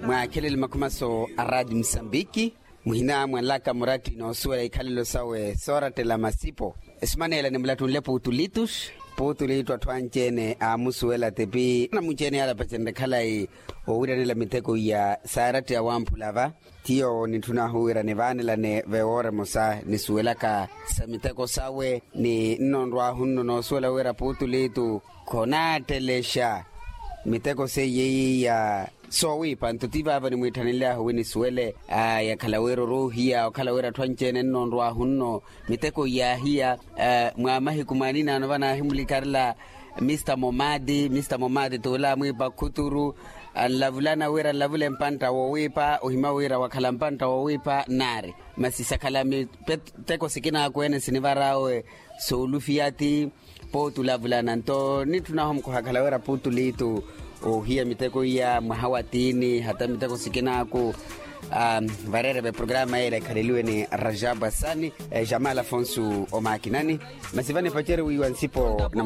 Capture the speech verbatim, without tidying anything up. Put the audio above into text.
Mwaakhelele makhumaso a raati musambiki, muhina mwanlaka muratti noosuwela ikhalelo sawe soorattela masipo. Esimaneela nimulattunle puutulitus. Puutulitu atthu anci-ene aamusuwela tipi anamunci-ene yaalapacenrye khalayi, owiranela miteko iya saaratti awamphula va. Tiyo nitthun'ahu wira nivaanelane vewoora emosa nisuwelaka sa miteko sawe ni nnonrw'ahu nno noosuwela wira puutulitu khonaattelexa miteko seiye iya soowiipa nto ti vaavo nimwiitthanenly'ahu wi nisuwele. Aya khala wira oruuhiya okhala wira atthu anci-ene nnonrw'ahu nno miteko iyaahiya. Mwa mahiku mwaaninaano vanaahimulikarela mista momati mista momati t'ule amwiipa khuturu, anlavulana wira anlavule mpantta woowiipa ohimya wira wakhala mpantta woowiipa nnaari. Masi sakhala miteko sikinaaku-ene sinivar'awe soolufiya ti puutulavulana nto nitthun'ahu mukhuhakhala wira puutulitu oohiya miteko iya mwaha wa tiini hata miteko sikinaaku. Vareereve programa yeela ekhaleliwe ni rajabu asani, jamal afonso omaakinani. Masi vanipaceriwiwa nsipo na